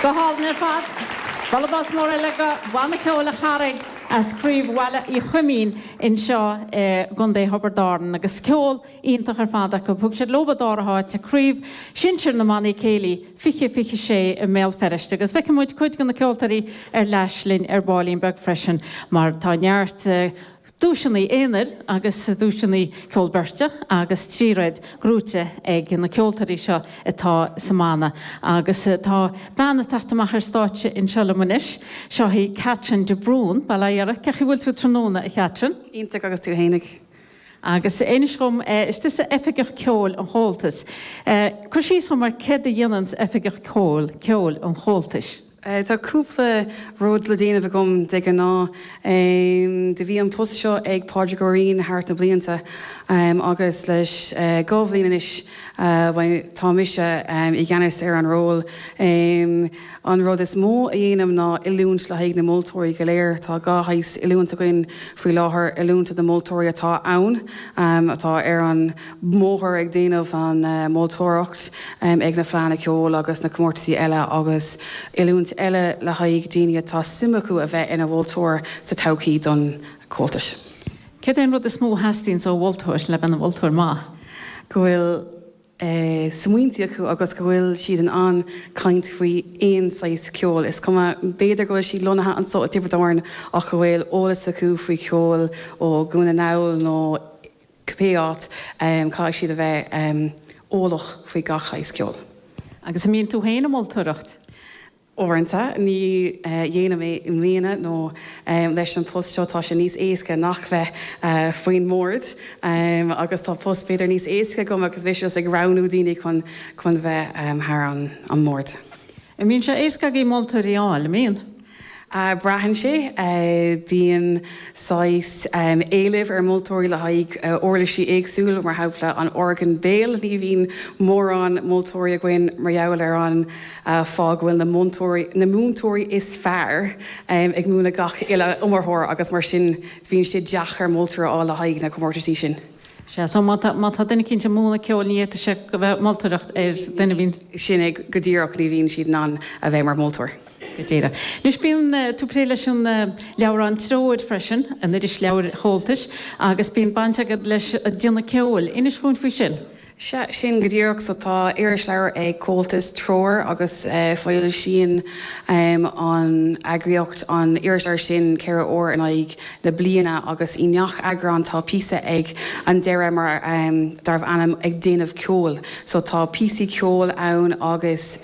Go hálainn ar fad. Bualadh bos mór eile do Bhanna Ceoil an Charraig as Craobh Bhaile Uí Chuimín anseo i gContae Thiobraid Árann agus ceol iontach ar fad acu. Thug siad leo an dara háit ag Craobh Shinsir na mBannaí Céilí 2026 i mBéal Feirste agus feicfidh muid cuid de na ceoltóirí ar ais linn ar baillín beag freisin mar tá neart duaiseanna aonair agus duaiseanna ceol beirte agus tríréad gnóite ag na ceoltóirí seo atá sa mbanna agus tá bean ag teacht amach ar stáitse anseo liom anois. Seo í Catherine de Brún. Bail ó Dhia ort. Cén chaoi a bhfuil tú tráthnóna, a Chatherine? Iontach agus tú fhéinig? Agus inis dhom, is tusa Oifigeach Ceoil an Chomhaltais. Cuir síos dhom ar céard a dhéananns Oifigeach Ceoil, Ceoil an Chomhaltais? Tá cúpla rud le déanamh agam de ghnáth. Do bhí an post seo ag Pádraig Ó Riain thart na blianta agus leis 2 bhliain anois tá mise i gceannas ar an ról. An rud is mó a dhéanaim ná oiliúint le haghaidh na moltóirí go léir. Tá 2 shaghas oiliúint againn faoi láthair, oiliúint do na moltóirí atá ann, atá ar an mbóthar ag déanamh an mholtóireacht ag na Fleánna Ceoil agus na comórtaisí eile agus oiliúint eile le haghaidh daoine atá suim acu a bheith ina mholtóir sa todhchaí don Chomhaltas. Céard é an rud is mó a theastaíonns ó mholtóir le bheith ina mholtóir maith? Go bhfuil smaointe acu agus go bhfuil siad in ann caint faoi aon saghas ceoil. Is cuma, b'fhéidir go bhfuil siad lonnaithe anso i dTiobraid Árann ach go bhfuil eolas acu faoi cheol ó Dhún na nGall nó cibé áit, caithfidh siad a bheith eolach faoi gach shaghas ceoil. Agus an mbíonn tú féin ag moltóireacht? Uaireanta, ní dhéanaim é i mbliana nó leis an post seo tá sé níos éasca nach bheith faoin mbord agus tá post b'fhéidir níos éasca agam agus mise just ag roghnú daoine chun chun bheith thar an mbord. An mbíonn sé éasca agaibh moltóirí a fháil, an mbíonn? Braitheann sé. Bíonn saghas éilimh ar mholtóirí le haghaidh uirlisí éagsúil, mar shampla an orgán béil. Ní bhíonn mórán moltóirí againn mar gheall ar an fáth go bhfuil na múinteoirí, na múinteoirí is fearr ag múineadh gach uile iomaitheoir agus mar sin bíonn sé deacair moltóir a fháil le haghaidh na comórtaisí sin. Sea, so má tá, má tá duine eicínt ag múineadh ceoil ní fhéadfadh sé go bheith ag moltóireacht ar duine a bhíonn. Sin é go díreach, ní bhíonn siad in ann a bheith mar mholtóir. Go díreach. Anois bíonn tú ag plé leis an leabhrán Treoir freisin, an irisleabhar Chomhaltais, agus bíonn baint agat leis an déanamh ceoil. Inis dhúinn faoi sin. Sea, sin go díreach. So tá irisleabhar ag Comhaltas, Treoir, agus foilsíonn an eagraíocht an irisleabhar sin 4 uair in aghaidh na bliana agus i ngach eagrán tá píosa ag an deireadh mar darbh ainm Ag Déanamh Ceoil. So tá píosaí ceoil ann agus.